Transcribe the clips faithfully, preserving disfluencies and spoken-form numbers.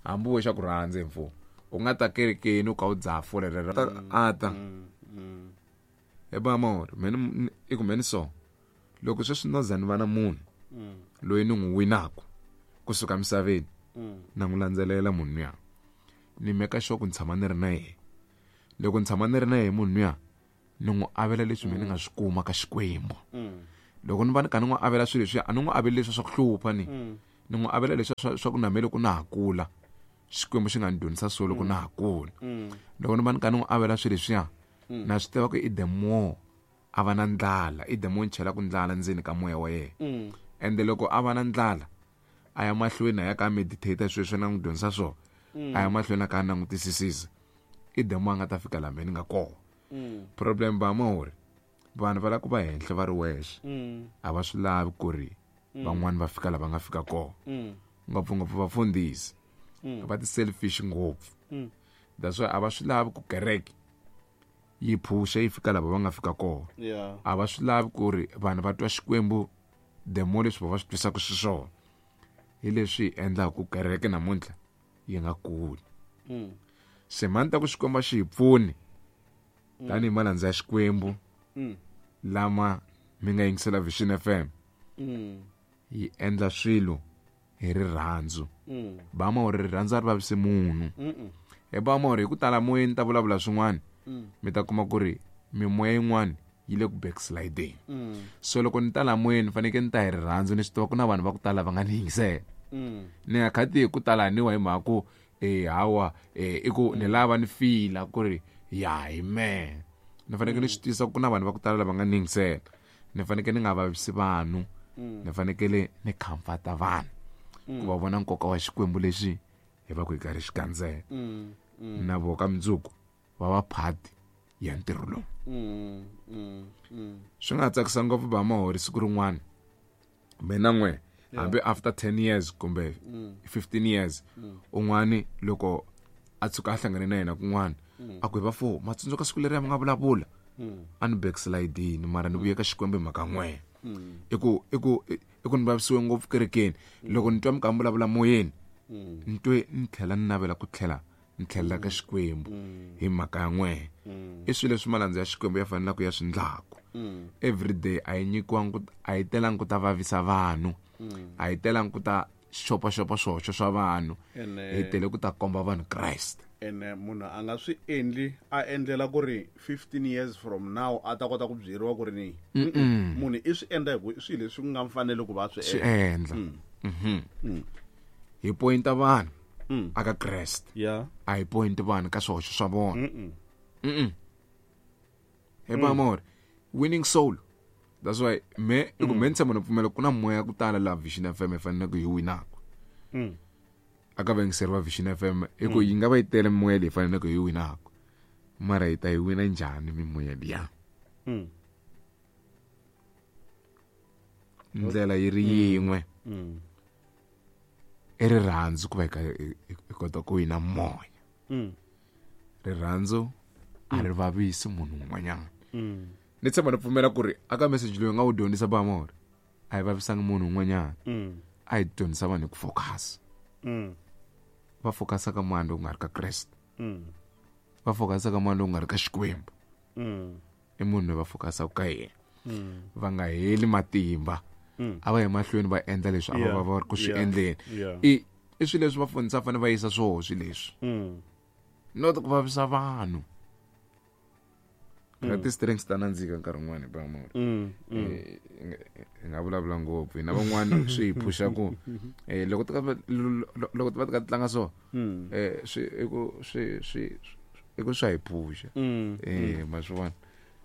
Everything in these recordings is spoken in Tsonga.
Hambi wo xa ku rhandza mfo. U nga ta kerekeni u ka u dzaha fole rero a ta. He ba mor, mina i ku mina so. Loko sweswi no za ni va na munhu loyi ni n'wi winaku kusuka misaveni na n'wi landzelela munhu luya. Ni meka sure ku ni tshama ni ri na yena. Loko ni tshama ni ri na yena munhu luya ni n'wi avela leswi mina ni nga swi kuma ka Xikwembu. Loko ni va ni ka ni n'wi avela swilo leswi a ni n'wi aveli leswi swa ku hlupha ni. Ni n'wi avela leswi swa swa ku na me loko na ha kula. Xikwembu xi nga ni dyondzisa swona loko na ha kula. Loko ni va ni ka ni n'wi avela swilo leswiya na swi tiva ku i the more a va na ndlala, i the more ni chelaka ndlala ndzeni ka moya wa yena. Ende loko a va na ndlala a ya mahlweni a ya ka meditate sweswi na n'wi dyondzisa swona. A ya mahlweni a ka langutisisisa. I the more a nga ta fika laha ni nga kona. Problem ba mahori vanhu va lava ku va henhla va ri wexe. A va swi lavi ku ri van'wani va fika laha va nga fika kona. Ngopfungopfu vafundhisi va ti selfish ngopfu. That's why a va swi lavi ku kereke yi phusha yi fika laha va nga fika kona. A va swi lavi ku ri vanhu va twa Xikwembu the more leswi va va swi twisaka xiswona. Hi leswi endlaka ku kereke namuntlha yi nga kuli. Se mani ta ku Xikwembu xi hi pfuni tanihi malandza ya Xikwembu lama mi nga yingisela Vision F M yi endla swilo hi rirhandzu. Ba ma uri rirhandzu a ri vavisi munhu. He ba ma uri hi ku tala moyeni ta vulavula swin'wana mi ta kuma ku ri mimoya yin'wana yi le ku backsliding. So loko ni tala moyeni fanekele ni ta hi rirhandzu ni swi tiva ku na vanhu va ku tala va nga ni yingisela. Ni nga khati hi ku tala ni wa hi mhaka ku eh hawa eh i ku ni lava ni fila ku ri ya hi me. Ni fanekele ni swi tisa ku na vanhu va ku tala lava nga ni yingisela. Ni fanekele ni nga vavisi vanhu. Ni fanekele ni comforta vanhu ku va vona nkoka wa Xikwembu lexi hi va ku hi karhi xi gandzela. Na voho ka mundzuku va va part ya ntirho lowu. Swi nga tsakisa ngopfu ba mahori siku rin'wana mina n'we hambi after ten years kumbe fifteen years un'wani loko a tshuka a hlangane na yena kun'wana a ku hi va fo ma tsundzuka siku leri a mi nga vulavula a ni backslidini mara ni vuye ka Xikwembu hi mhaka n'we. I ku i ku i ku ni vavisiwe ngopfu kerekeni loko ni twa mi ka mi vulavula moyeni ni twe ni tlhela ni navela ku tlhela ni tlhelela ka Xikwembu hi mhaka ya n'we. I swilo leswi malandza ya Xikwembu ya fanelaka ku ya swi ndlaku. Every day a yi nyikiwangi ku a yi telangi ku ta vavisa vanhu. A yi telangi ku ta xopaxopa swihoxo swa vanhu. Hi tele ku ta komba vanhu Christ. Ene munhu a nga swi endli a endlela ku ri fifteen years from now a ta kota ku byeriwa ku ri ni munhu i swi endla hi ku i swilo leswi nga mfanelo ku va swi swi endla. Mhm. Hi pointa vanhu aka Christ. A hi point vanhu ka swihoxo swa vona. Mhm. He ba more winning soul. That's why me i ku me ni tshama ni pfumela ku na moya ku tala laha Vision F M hi faneleke hi winaka. Aka vayingiseri va Vision F M i ku yi nga va yi tele mimoya leyi faneleke hi winaka. Mara hi ta yi wina njhani mimoya liya? Ndlela yi ri yin'we. I rirhandzu ku va hi ka hi kota ku wina moya. Rirhandzu a ri vavisi munhu un'wanyana. Ni tshama ni pfumela ku ri aka message loyi nga wu dyondzisa ba mora a yi vavisanga munhu un'wanyana. A yi dyondzisa vanhu hi ku focus. Va focusa ka mani lowu nga ri ka Kreste. Va focusa ka mani lowu nga ri ka Xikwembu. I munhu loyi va focusaka ka yena. Va nga heli matimba. A va ye mahlweni va endla leswi a va va ri ku swi endleni. I i swilo leswi vafundhisi va fanele va yisa swoho swilo leswi. Not ku vavisa vanhu. Phela ti-strings ta nandzika nkarhi wun'wani ba mora. Hi nga vulavula ngopfu hina van'wani swi hi phusha ku eh loko ti loko ti va ti ka tlanga so eh swi i ku swi swi i ku swa hi phusha. Eh ma swi vona.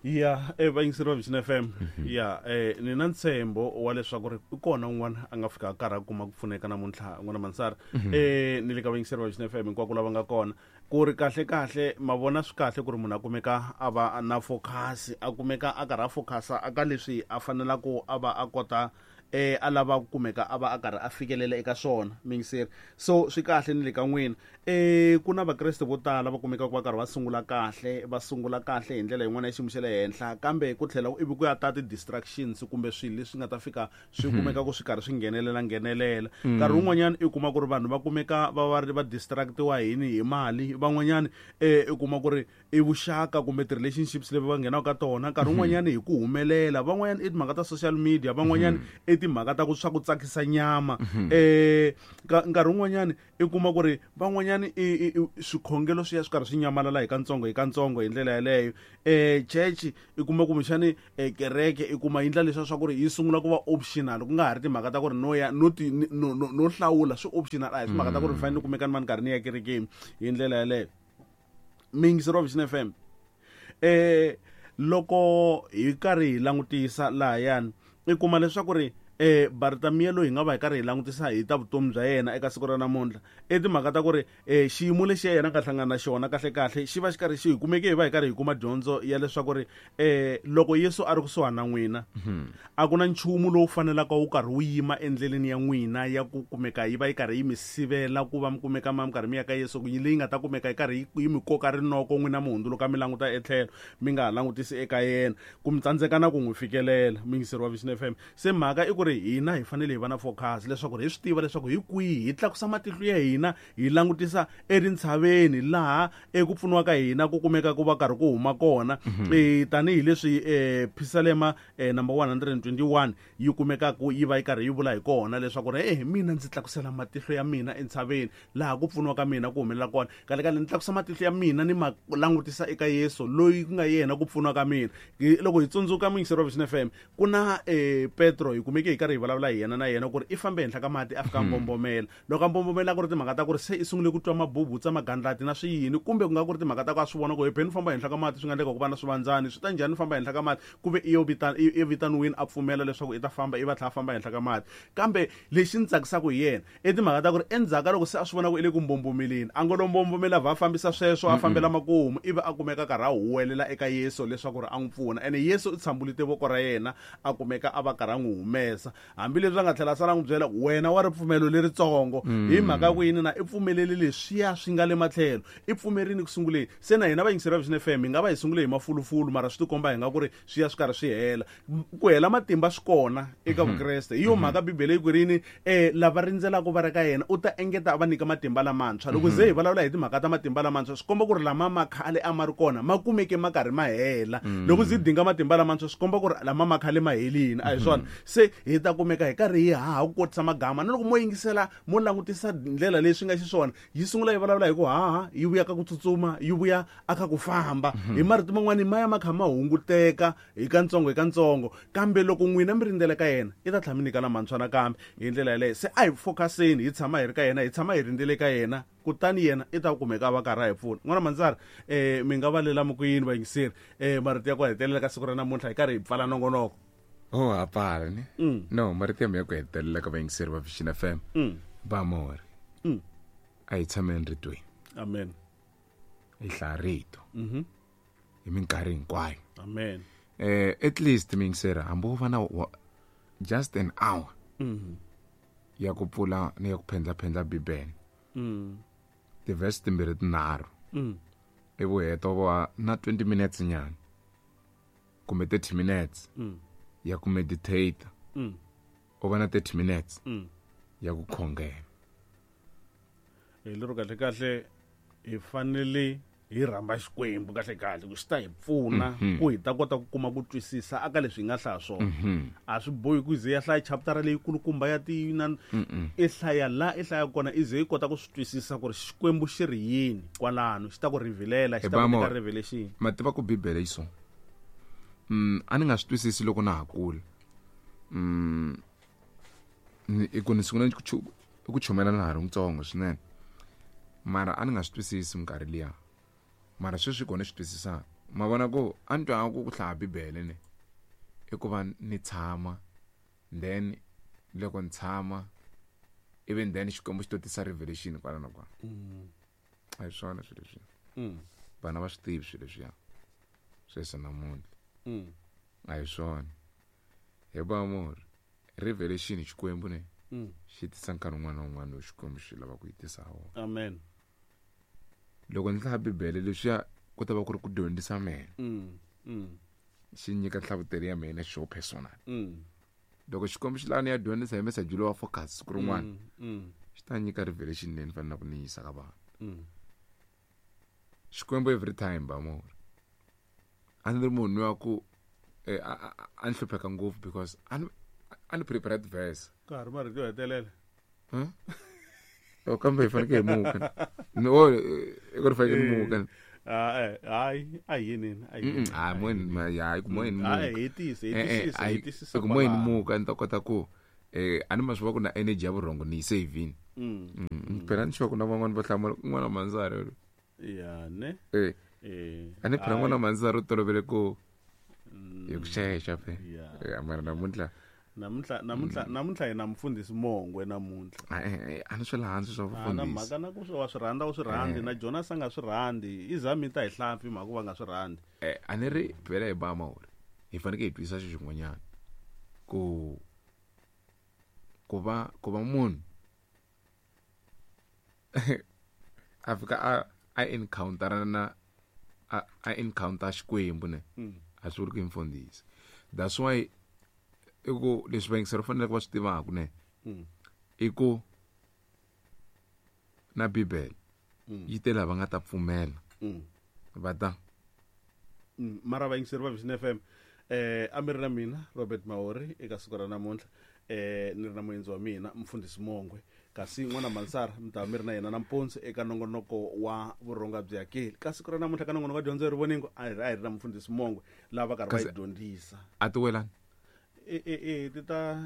Ya eh vayingiseri va Vision F M ya eh ni na ntshembo wa leswaku ri i kona un'wana a nga fika karhi a kuma ku pfuneka namuntlha n'wana Mansara. Eh ni le ka vayingiseri va Vision F M hinkwako lava nga kona ku ri kahle kahle ma vona swi kahle ku ri munhu a kumeka a va na focus a kumeka a karhi a focusa aka leswi a fanelaka a va a kota eh a lava ku kumeka a va a karhi a fikelela eka swona mingiseri. So swi kahle ni le ka n'wina. Eh ku na vakreste vo tala va kumeka ku va karhi va sungula kahle, va sungula kahle hi ndlela yin'wana ya xiyimo xa le henhla, kambe ku tlhela ivi ku ya ta ti-distractions kumbe swilo leswi nga ta fika swi kumeka ku swi karhi swi nghenelela nghenelela. Nkarhi wun'wanyana i kuma ku ri vanhu va kumeka va va ri va distractiwa hi yini, hi mali, van'wanyana eh i kuma ku ri i vuxaka kumbe ti-relationships leti va nghenaka ka tona, nkarhi wun'wanyana hi ku humelela, van'wanyana i timhaka ta social media, van'wanyana i timhaka ta ku swa ku tsakisa nyama. Eh nkarhi wun'wanyana i kuma ku ri van'wanyana i swikhongelo swi ya swi karhi swi nyamalala hi kantsongo hi kantsongo hi ndlela yeleyo. Eh church i kuma kumbexani kereke i kuma yi ndla leswiya swa ku ri yi sungula ku va optional, ku nga ha ri timhaka ta ku ri no ya no ti no no hlawula, swi optional, a hi timhaka ta ku ri ni fanele ni kumeka ni va ni karhi ni ya kerekeni hi ndlela yeleyo. Miyingiseri wa Vision F M, eh loko hi karhi hi langutisa lahayani i kuma leswaku ri eh Bartamiya loyi hi nga va hi karhi hi langutisa hi ta vutomi bya yena eka siku ra namuntlha, i timhaka ta ku ri eh xiyimo lexi ya yena nga hlangana na xona kahle kahle xi va xi karhi xi hi kumeke hi va hi karhi hi kuma dyondzo ya leswaku ri eh loko Yesu a ri kusuhani na n'wina, a ku na nchumu lowu fanelaka wu karhi wu yima endleleni ya n'wina ya ku kumeka yi va yi karhi yi mi sivela ku va mi kumeka ma mi karhi mi ya ka Yesu, leyi nga ta kumeka yi karhi yi mi koka rinoko n'wina mi hundzuluka mi languta etlhelo mi nga ha langutisi eka yena, ku mi tsandzeka na ku n'wi fikelela. Muyingiseri wa Vision F M, se mhaka i ku ri hina hi fanele hi va na focus leswaku hi swi tiva leswaku hi kwihi hi tlakusa matihlo ya hina hi langutisa etintshaveni laha eku pfuniwa ka hina ku kumeka ku va karhi ku huma kona. Eh tanihileswi eh Phisalema number one hundred and twenty-one yi kumekaka yi va yi karhi yi vula hi kona leswaku ri eh mina ndzi tlakusela matihlo ya mina entshaveni laha ku pfuniwa ka mina ku humelela kona. Kahle kahle ni tlakusa matihlo ya mina ni ma langutisa eka Yesu loyi ku nga yena ku pfuniwa ka mina. Loko hi tsundzuka muyingiseri wa Vision F M, ku na eh Petro hi kumeke hi karhi hi vulavula hi yena na yena ku ri i fambe henhla ka mati a fika mbombomela. Loko a mbombomela ku ri timhaka ta ku ri se i sungule ku twa mabubutsa magandlati na swiyini, kumbe ku nga ku ri timhaka ta ku a swi vona ku hi beni famba henhla ka mati swi nga endleka ku va na swivandzani, swi ta njhani famba henhla ka mati, ku ve i yo vitana i vitaniwini a pfumela leswaku i ta famba i va tlhela a famba henhla ka mati. Kambe lexi ni tsakisaka hi yena i timhaka ta ku ri endzhaku ka loko se a swi vona ku i le ku mbombomeleni, a ngo lo mbombomela va fambisa sweswo a fambela makumu, ivi a kumeka karhi a huwelela eka Yesu leswaku ri a n'wi pfuna. Ene Yesu u tshambulite voko ra yena a kumeka a va karhi a n'wi humesa, hambileswi a nga tlhela a sala n'wi byela wena wa ripfumelo leritsongo, hi mhaka ku yini na i pfumelele leswiya swi nga le matlhelo, i pfumerini ku sunguleni. Se na hina vayingiseri va Vision F M hi nga va hi sungule hi mafulufulu, mara swi tikomba hi nga ku ri swi ya swi karhi swi hela. Ku hela matimba swi kona eka Vukreste. Hi yo mhaka Bibele yi ku rini eh lava rindzelaka va ri ka yena u ta engeta a va nyika matimba lamantshwa. Loko ze hi vulavula hi timhaka ta matimba lamantshwa swi komba ku ri lama ma khale a ma ri kona ma kumeke ma karhi ma hela. Loko ze dinga matimba lamantshwa swi komba ku ri lama ma khale ma helini, a hi swona? Se hi ta kumeka hi karhi hi haha ku kotisa magama, na loko mo yingisela mo langutisa ndlela leyi swi nga xiswona, yi sungula yi vulavula hi ku haha, yi vuya ka ku tsutsuma, yi vuya aka ku famba. Hi marito man'wani ma ya ma kha ma hunguteka hi kantsongo hi kantsongo, kambe loko n'wina mi rindzela ka yena i ta tlhela mi nyika lamantshwa nakambe hi ndlela yeleyo. Se a hi focuseni, hi tshama hi ri ka yena, hi tshama hi rindzele ka yena, kutani yena i ta kumeka a va karhi a hi pfuna. N'wana Mandzara, eh mi nga valela mi ku yini vayingiseri eh marito ya ku hetelela ka siku ra namuntlha hi karhi hi pfala nongonoko? Oh, a pfala ni? No, marito ya mina ya ku hetelela ka vayingiseri va Vision F M, va mori a hi tshameni ritweni. Amen. Hi hlaya rito hi minkarhi hinkwayo. Amen. Eh at least miyingiseri hambi wo va na just an hour ya ku pfula ni ya ku phendla-phendla Bibele, ti-verse timbirhi tinharhu, ivi u heta u va na twenty minutes nyana kumbe thirty minutes ya ku meditate, u va na thirty minutes ya ku khongela. Hi lero kahle kahle hi fanele hi rhamba Xikwembu kahle kahle ku xi ta hi pfuna ku hi ta kota ku kuma ku twisisa aka leswi hi nga hlaya swona. A swi bohi ku ze ya hlaya chapter leyi kulukumba ya ti na i hlaya la i hlaya kona i ze yi kota ku swi twisisa ku ri Xikwembu xi ri yini kwalano, xi ta ku revealela, xi ta ku nyika revelation. Ma tiva ku Bibele yi so mm a ni nga swi twisisi loko na ha kula. Mm i ku ni sungula ku chumela na ha ri ntsongo swinene, mara a ni nga swi twisisi minkarhi liya, mara sweswi kona swi twisisaka. Ma vona ku a ni twa ku ku hlaya Bibele ni i ku va ni tshama, then loko ni tshama ivi then Xikwembu xi to tisa revelation kwala na kwala. A hi swona swilo leswiya, vana va swi tivi swilo leswiya sweswi namuntlha, a hi swona. Hi va mori Revelation Xikwembu ne xi tisa nkarhi wun'wana na wun'wana lowu Xikwembu xi lava ku yi tisa ha wona. Amen. Loko ni hlaya Bibele leswiya ku ta va ku ri ku dyondzisa mina. Xi nyika nhlavutelo ya mina xo personal. Loko Xikwembu xi lava ni ya dyondzisa hi message lowa focus siku rin'wana, xi ta nyika revelation leyi ni faneleke ku ni yisa ka vanhu. Xikwembu every time ba mo. A ni ri munhu wa ku a ni hlupheka ngopfu because a ni a ni prepared verse. Ka ha ri marito yo hetelela. Huh? O kambe hi fanekele hi muka. No, i ku ri fanekele hi muka. Ah, hayi, a yini, a yini. Ah, moyeni ya, ku moyeni muka. Ah, hetisa, hetisisa, hetisisa. Ku moyeni muka ni ta kota ku eh a ni ma swi va ku na energy ya vurhongo ni yi save-ini. Phela ni sure ku na van'wana va hlamula n'wana Manzara. Ya ne. Eh. Eh. A ni phela n'wana Manzara u tolovele ku hi ku xexa phe. Eh, mara namuntlha namuntlha namuntlha namuntlha hi na mfundhisi Mongwe namuntlha. Eh, a ni swi la hansi swa vufundhisi. Na mhaka na ku swi wa swi rhandza u swi rhandzi na Jonas a nga swi rhandzi i zami ta hi hlampfi mhaka va nga swi rhandzi. Eh, a ni ri phela hi ba mawuri. Hi fanekele hi twisisa xi xin'wanyana. Ku ku va ku va munhu a fika a a encounter na a a encounter Xikwembu ne. A swi vuli ku i mfundhisi. That's why i ku leswi vayingiseri va faneleke va swi tivaka ne i ku na Bibele yi te lava nga ta pfumela va ta mara vayingiseri va Vision F M eh a mi ri na mina Robert Mahori eka siku ra namuntlha eh ni ri na muendzi wa mina mfundhisi Mongwe kasi n'wana Mansara mi ta mi ri na yena nampundzu eka nongonoko wa vurhonga byi hakeli ka siku ra namuntlha ka nongonoko wa dyondzo ya rivoningo a hi ri na mfundhisi Mongwe lava karhi va yi dyondzisa. A ti welani e e e ti ta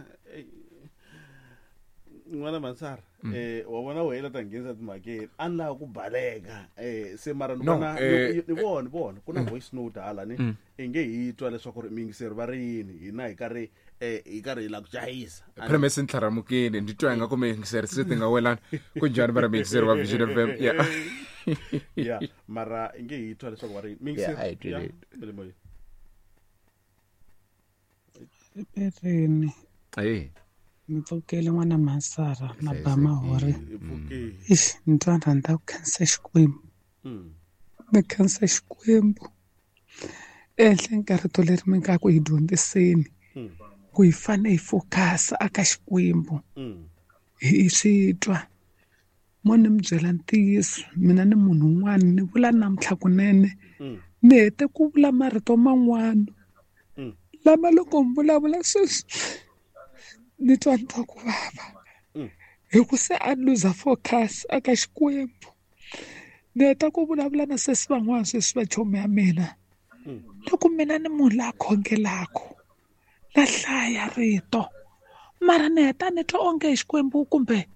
n'wana Mansara eh wa vona wena ta nghenisa timhakeni a ni lava ku baleka eh se mara ni vona ni vona vona ku na voice note hala ni i nge hi twa leswaku ri miyingiseri va ri yini hina hi karhi eh hi karhi hi la ku jahisa. Premise ntlharamukini ndi twa nga ku miyingiseri se ti nga welani ku njhani va ri miyingiseri va Vision F M. Yeah. Yeah, mara i nge hi twa leswaku va ri yini miyingiseri. Yeah, Perini. Hey. Mi pfukele n'wana Mansara na ba Mahori. Ixi, ni twa ni rhandza ku khensa Xikwembu. Ni khensa Xikwembu. Ehenhleni ka rito leri mi nga ku hi dyondziseni ku hi fanele hi focus aka Xikwembu. Hi swi twa. Mo ni mi byela ntiyiso, mina ni munhu un'wana ni vula namuntlha kunene. Ni hete ku vula marito man'wana. Lama loko mi vulavula sweswi ni twa ni twa ku vava hi ku se a ni luza focus aka Xikwembu. Ni heta ku vulavula na sesi van'wana sweswi va chomi ya mina loko mina ni munhu la khongelaka na hlaya rito mara ni heta ni twa onge Xikwembu kumbe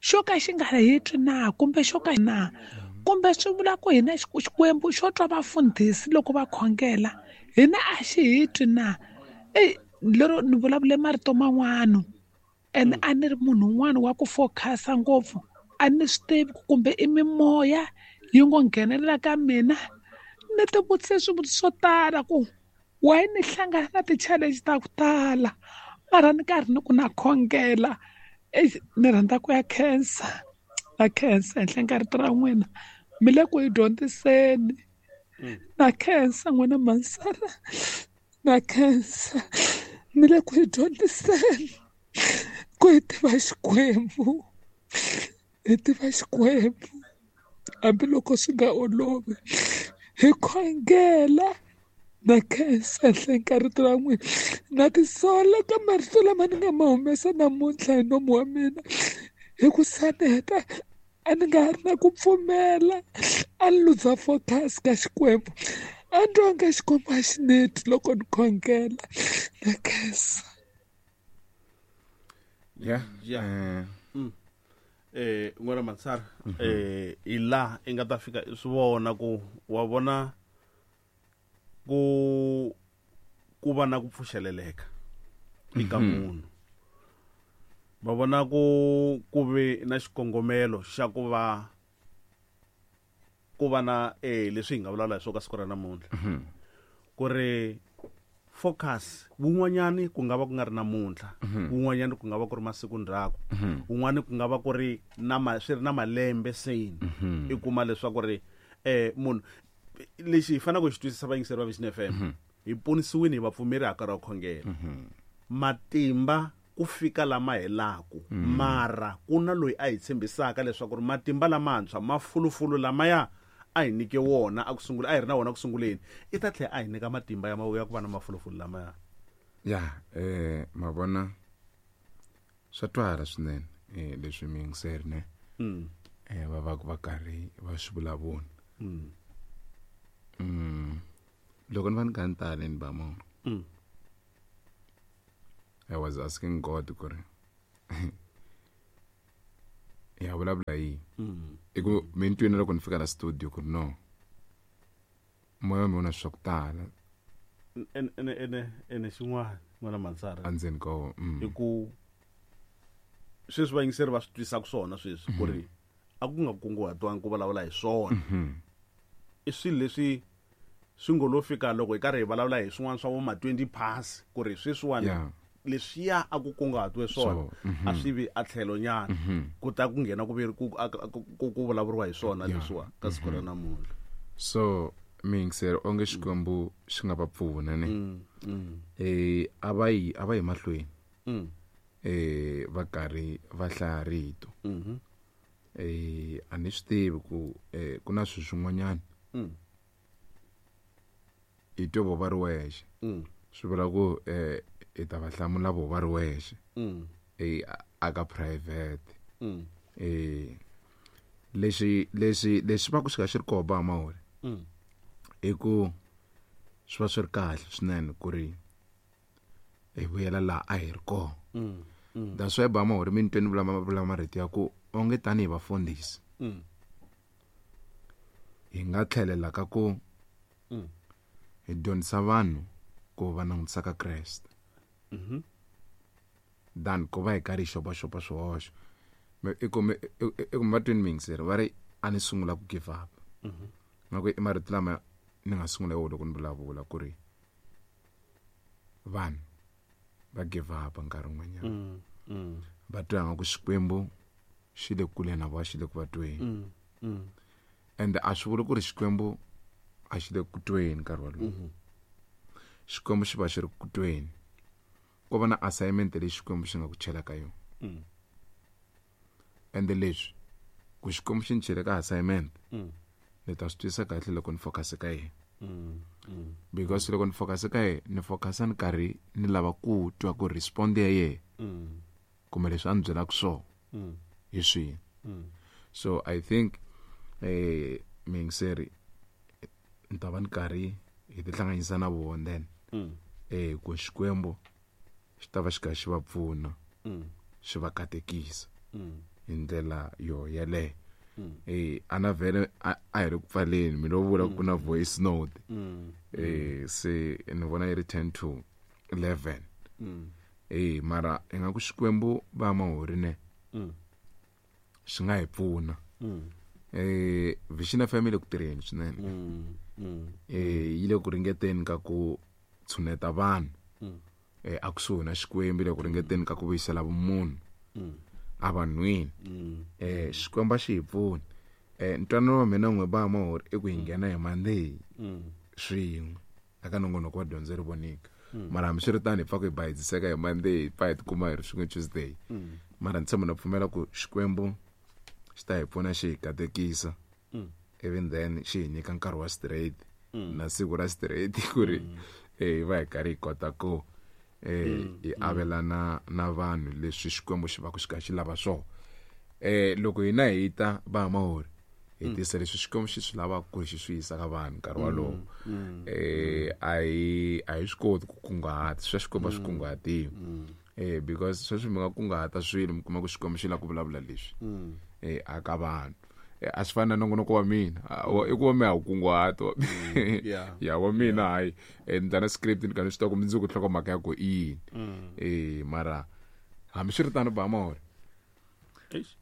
xo ka xi nga hi twi na kumbe xo ka na kumbe swi vula ku hina Xikwembu xo twa vafundhisi loko va khongela hina a xi hi twi na. Ey, lero ni vulavule marito man'wana and a ni ri munhu un'wana wa ku focus-a ngopfu a ni swi tivi kumbe i mimoya yi ngo nghenelela ka mina. Ni ti vutise swivutiso swo tala ku why ni hlangana na ti-challenge ta ku tala mara ni karhi ni ku na khongela. Ey, ni rhandza ku ya khensa na khensa henhleni ka rito ra n'wina mi le ku hi dyondziseni. Na khensa n'wina Mansara, na khensa mi le ku hi dyondziseni ku hi tiva Xikwembu, hi tiva Xikwembu hambiloko swi nga olovi hi khongela. Na khensa henhleni ka rito ra n'wina, na tisola ka marito lama ni nga ma humesa namuntlha hi nomu wa mina hi ku saneta a ni nga ri na ku pfumela a ni luza focus ka Xikwembu a ni twa nga Xikwembu a xi neti loko ni khongela. Na khensa. Yeah. Yeah. Eh n'wana Mansara eh hi laha i nga ta fika i swi vona ku wa vona ku ku va na ku pfuxeleleka eka munhu. Va vona ku ku ve na xikongomelo xa ku va ku va na eh leswi hi nga vulavula hi swona ka siku ra namuntlha ku ri Focus wun'wanyani ku nga va ku nga ri namuntlha, wun'wanyani ku nga va ku ri masiku ndzhaku, wun'wani ku nga va ku ri na ma swi ri na malembe seni. I kuma leswaku ri eh munhu lexi hi faneleke ku xi twisisa vayingiseri va Vision F M, hi ponisiwile hi vapfumeri ha karhi wa khongela. Matimba ku fika lama helaku, mara ku na loyi a hi tshembisaka leswaku ri matimba lamantshwa mafulufulu lamaya a hi nyike wona a ku sungula a hi ri na wona ku sunguleni, i ta tlhela a hi nyika matimba ya ya ku va na mafulufulu lamaya. Ya eh mavona swa twala swinene eh leswi miyingiseri ne mm. eh va va va karhi va swi vulavula. Mm. Mm. Loko ni va ni ka ni tale ni ba mo. Mm. I was asking God ku ri ya vulavula yini. Mm. I ku mi ni twini loko ni fika la studio ku ri no moya wa mina wu na swa ku tala ene ene ene ene xin'wana n'wana Mansara endzeni ka wona. Mm. I ku sweswi vayingiseri va swi twisaka swona sweswi ku ri a ku nga kunguhatiwangi ku vulavula hi swona. I swilo leswi swi ngo lo fika loko hi karhi hi vulavula hi swin'wana swa vo ma twenty pass ku ri sweswiwani Yeah. leswiya a ku kunguhatiwe swona So, mhm. a swi vi a tlhelo nyana ku ta ku nghena ku vi ku ku ku vulavuriwa hi swona Yeah. leswiwa ka siku ra namuntlha. So miyingiseri onge Xikwembu xi nga va pfuna ne. Mm, mm, Eh a va yi a va yi mahlweni mm, eh va karhi va hlaya rito. mhm, Eh a ni swi tivi ku eh ku na swilo swin'wanyana mm, hi twe vo va ri wexe. mm, Swi vula ku eh hi ta va hlamula vo va ri wexe mm, eh a ka private. mm, Eh lexi lexi lexi va ku xi ka xi ri koho ba Mahori mm, i ku swi va swi ri kahle swinene ku ri hi vuyela laha a hi ri kona. mm, mm, That's why ba Mahori mi ni tweni vula vula marito ya ku onge tanihi vafundhisi mm, hi nga tlhelela ka ku mm, hi dyondzisa vanhu ku va langutisa ka Kreste mhm, than ku va hi karhi hi xopaxopa swihoxo. Me- i ku mi- i- i- i ku mi va twini miyingiseri va ri a ni sungula ku give up. mhm, Nga ku i marito lama ni nga sungula hi wona loko ni vulavula ku ri vanhu va give up nkarhi wun'wanyana. mm, mm, Va twa nga ku Xikwembu xi le kule na vona, xi le ku va tweni. mm, mm, Ende a swi vuli ku ri Xikwembu a xi le ku tweni nkarhi wolowo. mhm, Xikwembu xi va xi ri ku tweni. Ko va na assignment leyi Xikwembu xi nga ku chela ka yona. mm, Ende leswi ku Xikwembu xi ni chele ka assignment mm, ni ta swi twisisa kahle loko ni focus ka yena. mm, mm, Because loko ni focus ka yena ni focus ni karhi ni lava ku twa ku respond ya yena mm, kumbe leswi a ni byelaka swona mm, hi swihi. mm. So I think eh miyingiseri ni ta va ni karhi hi tihlanganisa na vona then Mm, eh ku Xikwembu xi ta va xi karhi xi va pfuna mm, xi va katekisa mm, hi ndlela yo yeleyo. mm, Eh ana vhele a a hi ri ku pfaleni mi lo vula ku na voice note. mm, Eh se ni vona yi ri ten to eleven. mm, Eh mara i nga ku Xikwembu va Mahori ne mm, xi nga hi pfuna. mm, Eh Vision F M yi le ku tirheni swinene. mm, mm, Eh yi le ku ringeteni ka ku tshuneta vanhu mm, eh a kusuhi na Xikwembu, yi le ku ringeteni ka ku vuyisela vumunhu mm, a vanhwini. mm, Eh Xikwembu a xi hi pfuni. Eh ntwanano wa mina n'we ba Mahori i ku hi nghena hi Monday mm, swin'we aka nongonoko wa dyondzo ri vonika. Mara hambiswiritano hi pfa ku hi bayiziseka hi Monday hi pfa hi tikuma hi ri swin'we Tuesday. mm, Mara ni tshemba na pfumela ku Xikwembu xi ta hi pfuna xi hi katekisa. mm, Even then xi hi nyika nkarhi wa straight Mm. na siku ra straight ku ri eh hi va hi karhi hi kota ku eh hi avelana na vanhu leswi Xikwembu xi va ku xi kha xi lava swona. Eh loko hina hi ta va Mahori hi tisa leswi Xikwembu xi swi lavaka ku ri xi swi yisa ka vanhu nkarhi wolowo. Eh a hi a hi swi koti ku kunguhata swa Xikwembu a swi kunguhatiwi. Eh because sweswi mi nga kunguhata swilo mi kuma ku Xikwembu xi lava ku vulavula leswi mm, eh aka vanhu. Eh, a swi fani na nongonoko wa mina. A, wa- i ku wa mina a wu kunguhati wa yeah. ya wa mina hayi eh, ni ndla na script ni karhi ni swi tiva ku mundzuku nhlokomhaka ya ku i yini. mm. Eh mara hambiswiritano ba Mahori Eish.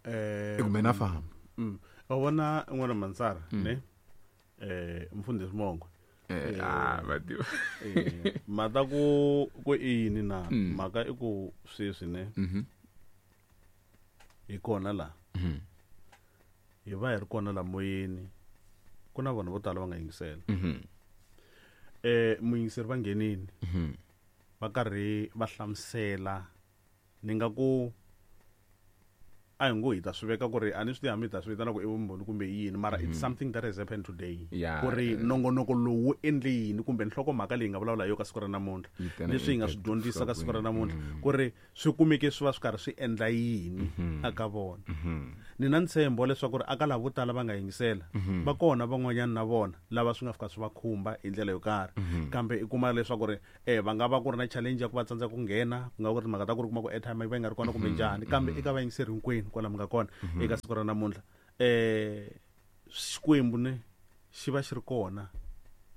Eh, i ku mina famba. mm. Wa vona n'wana Mansara ne eh mfundhisi Mongwe Eh ah va tiva. Mata ku ku i yini na mhaka i ku sweswi ne. Mhm. Hi kona la. Mhm. Hi va hi ri kona la moyeni. Ku na vanhu vo tala va nga yingisela. Mhm. Eh muyingiseri va nghenini. Mhm. Va karhi va hlamusela ni nga ku a hi ngo hi ta swi veka ku ri a ni swi tivi hambi hi ta swi vitana ku i vumbhoni kumbe yini mara it's something that has happened today Yeah. ku ri nongonoko lowu wu endle yini kumbe nhlokomhaka leyi nga vulavula hi yo ka siku ra namuntlha Yi tena leswi hi nga swi impact dyondzisa ka siku ra nhlokweni. namuntlha ku ri swi kumeke swi va swi karhi swi endla yini aka vona ni na ntshembo wa leswaku ri aka lavo vo tala va nga yingisela va kona van'wanyana na vona lava swi nga fika swi va khumba hi ndlela yo karhi kambe i kuma leswaku ri eh va nga va ku ri na challenge ya ku va tsandzeka ku nghena ku nga ku ri timhaka ta ku ri kuma ku airtime yi va yi nga ri kona kumbe njhani kambe eka vayingiseri hinkwenu kwala mi nga kona eka siku ra namuntlha eh Xikwembu ne xi va xi ri kona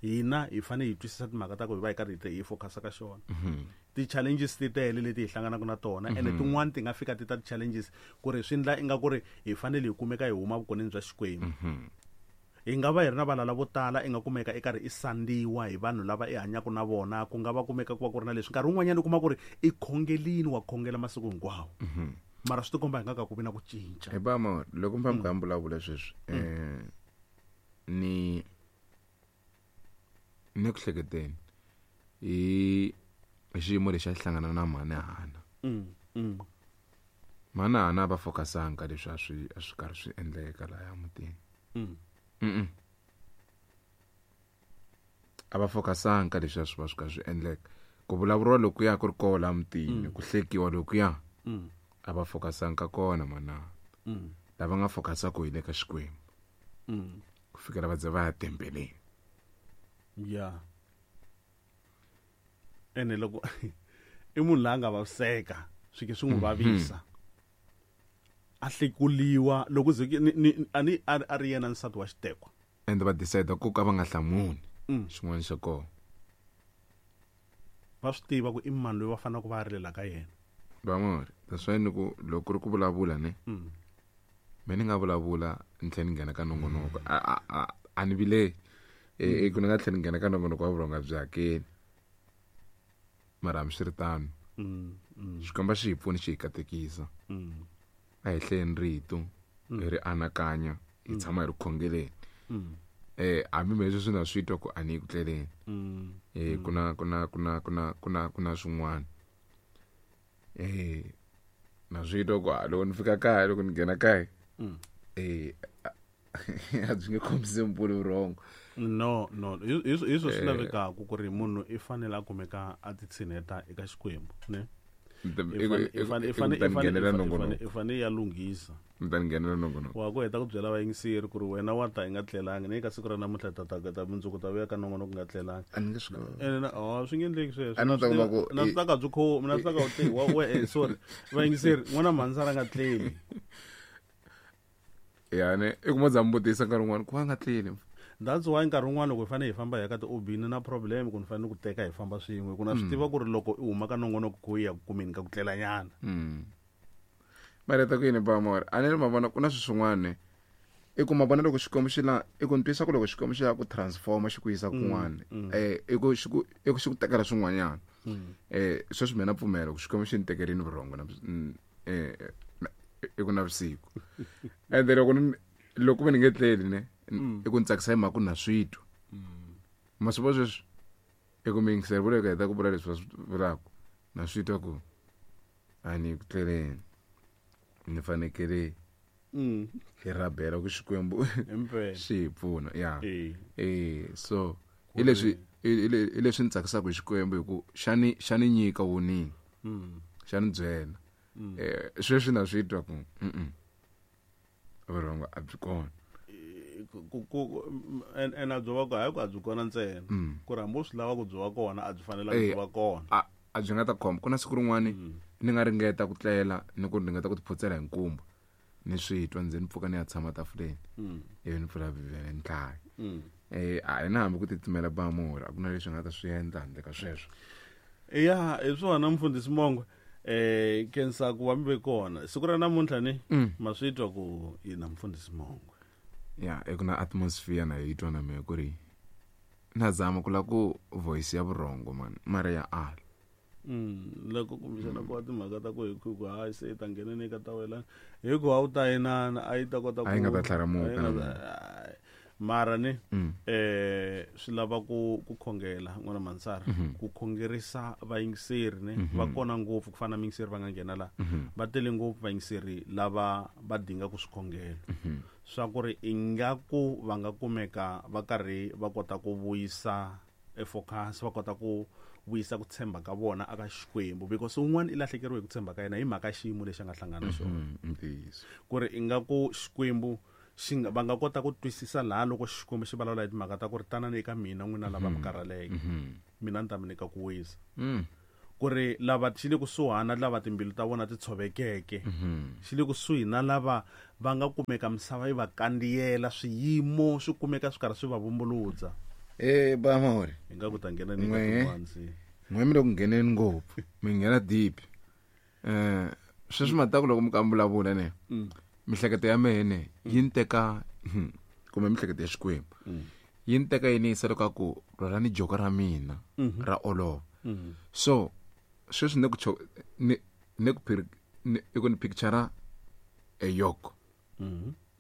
hina hi fanele hi twisisa timhaka ta ku hi va hi karhi hi hi focus ka xona ti-challenges ti tele leti hi hlanganaka na tona ene tin'wani ti nga fika ti ta ti-challenges ku ri swi ndla ingaku ri hi fanele hi kumeka hi huma vukoneni bya Xikwembu hi nga va hi ri na valala vo tala i nga kumeka i karhi i sandziwa hi vanhu lava i hanyaka na vona ku nga va kumeka ku va ku ri na leswi nkarhi wun'wanyana u kuma ku ri i khongelini wa khongela masiku hinkwawo mara swi tikomba hi nga ka ku vi na ku cinca Hi ba mo loko mi famba mi vulavula sweswi eh ni ni ku hleketeni hi hi xiyimo lexi a xi hlangana na mhani Hana Mm, mm, mhani Hana a va focusanga ka leswi a swi a swi karhi swi endleka laya mutini mm, mm a va focusanga ka leswi a swi va swi karhi swi endleka ku vulavuriwa lokuya ku ri koho laha mutini ku hlekiwa lokuya mm, a va focusanga ka kona mhani Hana mm, lava nga focusaka hi le ka Xikwembu mm. ku fikela va ze va ya tempeleni ya ene loko i munhu la nga vaviseka swi ke swi n'wi vavisa a hlekuliwa loko ze ni- ni- a ni a a ri yena nsati wa xitekwa ende va decide ku ka va nga hlamuli Mm. xin'wana xa kona va swi tiva ku i mani loyi va faneleke va rilela ka yena vamori that's why ni ku loko ku ri ku vulavula ne Mm. me ni nga vulavula ni tlhela ni nghena ka nongonoko a a a a ni vileli e ku ni nga tlhela ni nghena ka nongonoko wa vurhonga byi hakeli mara hambiswiritano Mm, mm, xikwembu xi hi pfuni xi hi katekisa mm, a hi hlayeni rito hi ri anakanya hi tshama hi ri khongeleni mm, eh hambi me leswi na swi twa ku a ni yi ku tleleni mm. eh ku na ku na ku na ku na ku na ku na swin'wana eh na swi twa ku ah, loko ni fika kaya loko ni nghena kaya Mm. eh a byi nge khombisi mpfula vurhongo no no hi hi hi swo swi lavekaka ku ri munhu i fanele a kumeka a ti tshineta eka Xikwembu ne Ni ta- I i ku- fane- i i ku- fane- i i ku fane- ni ta i ni fane- nghenela i fane- nongonoko i fane ya lunghisa ni ta ni nghenela nongonoko wa ku heta ku byela vayingiseri ku ri wena wa ta i nga tlelangi ni ka siku ra namuntlha ta ta ta mundzuku ta vuya ka nongonoko nga tlelangi a ni nge swi koti. ene na oh swi nge endleki sweswo A ni ta kuma ku na swi ta ka byi khomi na swi ta ka u te wa we eh, sorry vayingiseri n'wana mhansara nga tleli ya ne i kuma za mi vutisa nkarhi wun'wana ku va nga tleli that's why nkarhi wun'wana loko hi fanele hi famba hi ya ka ti-obini na problem ku ni fanele ku teka hi famba swin'we ku na swi tiva ku ri loko i huma ka nongonoko ku ya ku kumeni ka ku tlelanyana Mm. mara ta ku yini bamora a ni ri ma vona ku na swilo swin'wana ne i ku ma vona loko xikwembu xi la i ku ni twisa ku loko xikwembu xi lava ku transforma xi ku yisa kun'wana eh i ku xi ku i ku xi ku tekela swin'wanyana eh sweswi mina pfumela ku xikwembu xi ni tekerini vurhongo na mm, eh na- i ku na vusiku ende loko ni loko ve ni nge tleli ne i ku ni tsakisa hi mhaka ku na swi twa ma swi vona sweswi i ku miyingiseri vula heta ku vula leswi va swi vulaka na swi twa ku a ni ku tleleni ni fanekele Mm. hi rabela ku xikwembu Impela. xi hi pfuna ya Eh. eh so hi leswi hi le- hi leswi ni tsakisaka hi xikwembu hi ku xa ni xa ni nyika warning Mm. xa ni byela eh sweswi na swi twa ku mm vurhongo a byi kona Ku- ku- ku- en- ene a byo va kona hayi ku a byi kona ntsena ku ri hambi u swi lava ku byi va kona a byi fanelanga Eh, byi va kona a a byi nga ta khoma ku na siku rin'wani ni nga ringeta ku tlela ni ku ringeta ku tiphotsela hi nkumba ni swi twa ndzi ni pfuka ni ya tshama tafuleni ivi ni pfula bibele ni hlaya Mm. eh a ni hambi ku titimela bamuri a ku na leswi nga ta swi endla handle ka sweswo ya hi swona mfundhisi mongwe eh kensa ku va mi ve kona siku ra namuntlha ni ma swi twa ku yi na mfundhisi mongwe ya i ku na atmosphere na yi twa na mehe ku ri Na zama ku la ku voice ya vurhongo man mara ya ala. Mm loko kumbexana ku va timhaka ta ku hi ku hayi se ta ngheneni ka ta wena hi ku a wu ta inana a yi ta kota ku a yi nga ta tlharamuka mara ni eh swi lava ku ku khongela n'wana Mansara ku khongerisa vayingiseri ne va kona ngopfu ku fana na miyingiseri va nga nghena la va tele ngopfu vayingiseri lava va dinga ku swi khongela swa ku ri ingaku va nga kumeka va karhi va kota ku vuyisa e focus va kota ku vuyisa ku tshemba ka vona aka Xikwembu because un'wana i lahlekeriwe hi ku tshemba ka yena hi mhaka xiyimo lexi a nga hlangana na xona ku ri ingaku Xikwembu xi nga va nga kota ku twisisa laha loko Xikwembu xi vulavula hi timhaka ta ku ri tanani eka mina n'wina lava mi karhaleke mina ni ta mi nyika ku wisa ku ri lava xi le kusuhana lava timbilu ta vona ti tshovekeke xi le kusuhi na lava va nga kumeka misava yi va kandziyela swiyimo swi kumeka swi karhi swi va vumbuludza. Eh ba mori hi nga ku ta nghena ni ka tin'wansi n'we mi le ku ngheneni ngopfu mi nghena deep eh sweswi mataku loko mi kambulavula ne mihleketo ya mene yi ni teka kumbe mihleketo ya Xikwembu yi ni teka yi ni yisa loko ku rhwalani joko ra mina ra olova so sweswi ni ku ni ni ku i ku ni picture a yoke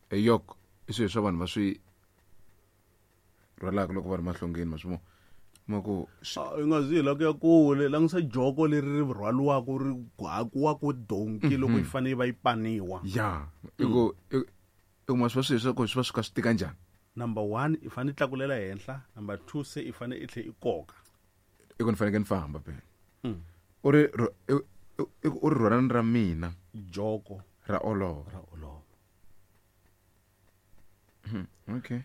a yoke i swilo swa vanhu va swi rhwalaka loko va ri mahlongeni ma swi vona ma ku i nga zi la ku ya kule langisa joko leri ri rhwaliwaka ri hakiwaka donki loko yi fanele yi va yi paniwa ya i ku i ku ma swi va swilo swa ku swi va swi kha swi tika njhani number one i fanele i tlakulela henhla number two se i fanele i tlhe i koka i ku ni fanekele ni famba phela u ri u ri rhwalani ra mina joko ra olova ra olova okay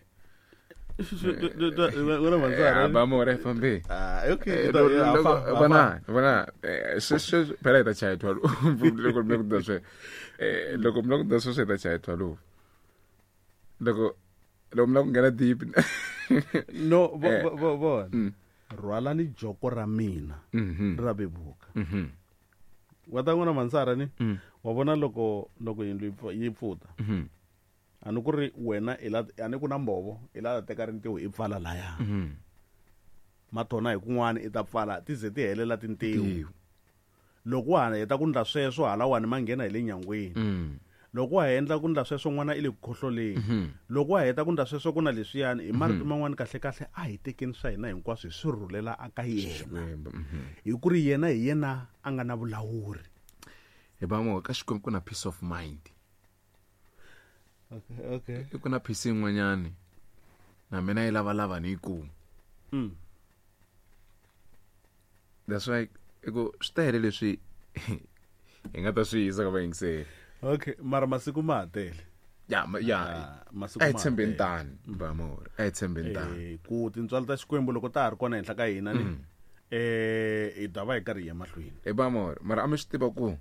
ba more fambe ah okay bana bana sweswi phela hi ta chaya thwalo loko mi ku da swe eh loko mi ku da swe ta chaya thwalo loko loko mi ku nghena deep no vo vo rhwalani joko ra mina ra vevuka wa ta n'wana Mansara ni wa vona loko loko yindlu yi pfuta ani ku ri wena i la ani ku na mbovo i la teka rintiho i pfala laya matona hi kun'wana i ta pfala ti ze ti helela tintiho loko wa heta ku ndla sweswo halawani ma nghena hi le nyangweni loko wa endla ku ndla sweswo n'wana i le ku khohloleni loko wa heta ku ndla sweswo ku na leswiyani hi marito man'wana kahle kahle a hi tekeni swa hina hinkwaswo hi swi rhulela aka yena hi ku ri yena hi yena a nga na vulawuri hi ba mo ka Xikwembu ku na peace of mind. Okay, okay. I ku na peace yin'wanyani na mina yi lavalava ni yi kuma. Mm. That's why i ku swi tele leswi hi nga ta swi yisa ka vayingiseri. Okay, mara masiku ma ha tele. Ya, ya. Masiku ma tshembeni tani, ba more. A hi tshembeni tani. Eh, ku tintswalo ta Xikwembu loko ta ha ri kona henhla ka hina ni eh hi ta va hi karhi hi ya mahlweni. Eh ba more, mara a mi swi tiva ku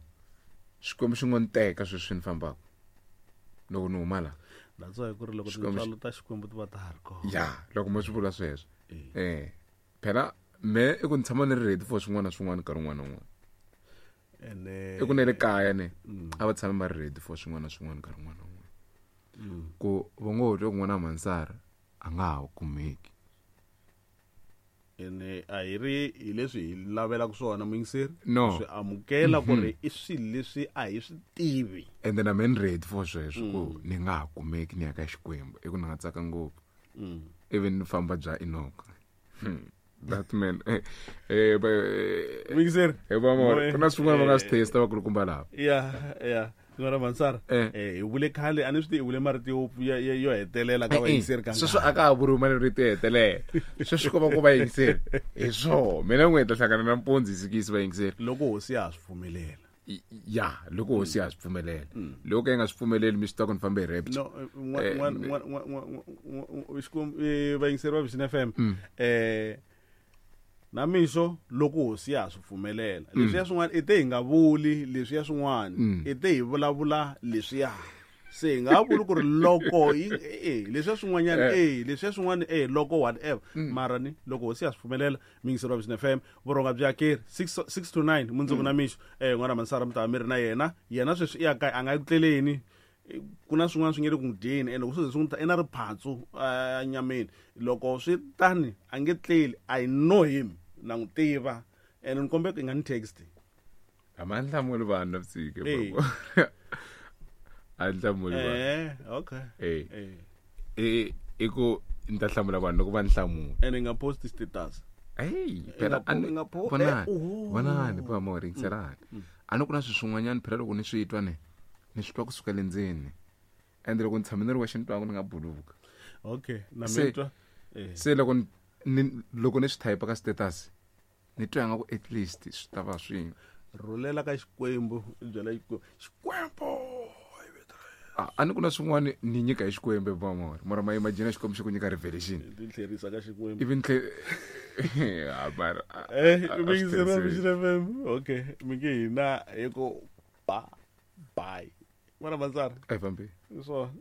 Xikwembu xi ngo ni teka sweswi ni fambaka. Loko ni huma la. That's why ku ri loko tintswalo ta Xikwembu ti va ta ha ri kona. Ya, loko mo swi vula sweswo. Eh. Phela me i ku ni tshama ni ri ready for swin'wana na swin'wana nkarhi wun'wana na wun'wana. Ene i ku ne le kaya ne a va tshame va ri ready for swin'wana na swin'wana nkarhi wun'wana na wun'wana. Ku va ngo twa kun'wana Mansara a nga ha kumeki. Ene a hi ri hi leswi hi lavelaka swona muyingiseri no. Swi amukela ku ri i swilo leswi a hi swi tivi. And then I'm in ready for sweswo ku ni nga ha kumeki ni ya ka Xikwembu i ku ni nga tsaka ngopfu. Even ni famba bya Enoch. That man eh eh muyingiseri eh ba more ku na swin'wana va nga swi testa vakulukumba lava. Ya ya n'wana Mansara eh hi vule khale a ni swi tivi hi vule marito yo yo hetelela ka vayingiseri ka sweswo a ka ha vuriwi marito yo hetelela sweswo ko va ku vayingiseri hi swona mina n'we hi ta hlangana na mpundzu hi sikisi vayingiseri loko hosi ya ha swi pfumelela. Ya loko hosi ya ha swi pfumelela loko yi nga swi pfumeleli mi swi tiva ku ni fambe hi rapture. No Xikwembu vayingiseri va Vision F M eh na mixo loko hosi ya swi pfumelela leswiya swin'wana i te hi nga vuli leswiya swin'wana i te hi vulavula leswiya se hi nga vuli ku ri loko eh leswiya swin'wanyana eh leswiya swin'wana eh loko whatever mara ni loko hosi ya swi pfumelela miyingiseri wa Vision F M vurhonga bya keri six to nine mundzuku na mixo eh n'wana Mansara mi ta va mi ri na yena yena sweswi i ya kaya a nga yi ku tleleni Ku na swin'wana swi nge le ku n'wi dyeni, ende loko swi ze swi n'wi ta i na riphatsu enyameni. Loko swi tani a nge tleli. I know him, na n'wi tiva, ene ni kombela ku i nga ni text. A ma hlamuli vanhu navusiku. Eh. A hlamuli vanhu. Eh, okay. Eh. Eh. I i ku ni ta hlamula vanhu loko va ni hlamula. Ene i nga post status. Hey, I phela nga po- a ni i nga po- vonani eh, oho. vonani pa mo ringiselani. A ni ku na swilo swin'wanyana phela loko ni swi twa ni ni swi twa kusuka le ndzeni, ende loko ni tshame ni ri wexe ni twaku ni nga buluka. Okay, na Se- mi twa. Eh. Se loko ni ni- loko ni swi type ka status ni twa nga ku at least swi ta va swi Rhulela ka Xikwembu, i byela Xikwembu. Xikwembu i vito ra yena. a a ni ku na swin'wana ni nyika hi Xikwembu va mora mara ma imagine Xikwembu xi ku nyika revelation. Ti tlherisa ka Xikwembu. Ivi ni tlhe Ah, mara a- Eh, a- a mi swi yingisela tirhisiwi. Vision F M. Okay, mi nge hina hi ku ba bye. N'wana Mansara. A hi fambi. Hi swona.